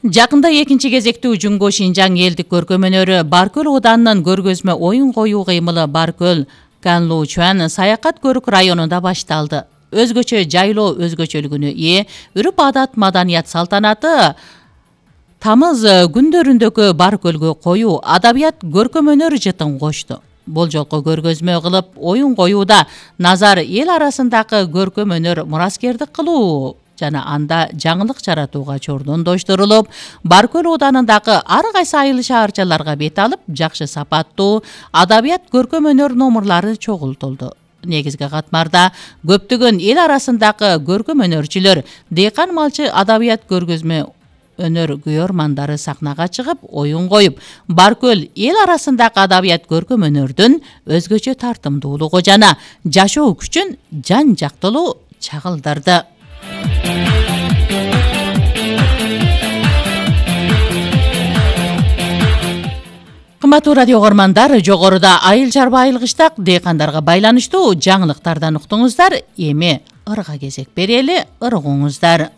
Жакында экинчи кезектүү Жумго Шинжаң элдик көркөм өнөрү Баркөл ауданынын көргөзмө оюн коюу кыймылы Баркөл Канлучан Саякат көрүк районунда башталды. Өзгөчө жайлоо өзгөчөлүгүнө ээ үрүп адат маданият салтанаты тамыз күндөрүндөгү Баркөлгө коюу адабият көркөм өнөр жытын кошту. Бул жолку көргөзмө кылып оюн коюуда назар эл арасындагы көркөм өнөр мураскердик кылуу жана анда жаңылык жаратууга чордондоштурулуп, Баркөл ауданындагы ар кайсы айыл шаарчаларга бет алып, жакшы сапаттуу адабият көркөм өнөр номурлары чогултулду. Негизги катмарда көптөгөн эл арасындагы көркөм өнөрчүлөр, дыйкан малчы адабият көргөзмө өнөр күйөрмандары сахнага чыгып, оюн коюп, Баркөл эл арасындагы адабият көркөм өнөрдүн өзгөчө тартымдуулугу жана жашоо күчүн жан жактылуу чагылдырды. Кымбаттуу радио көрөрмандар, жогоруда айыл чарба айыл кыштак дыйкандарга байланыштуу жаңылыктардан уктуңуздар. Эми ырга кезек берели, ыргуңуздар.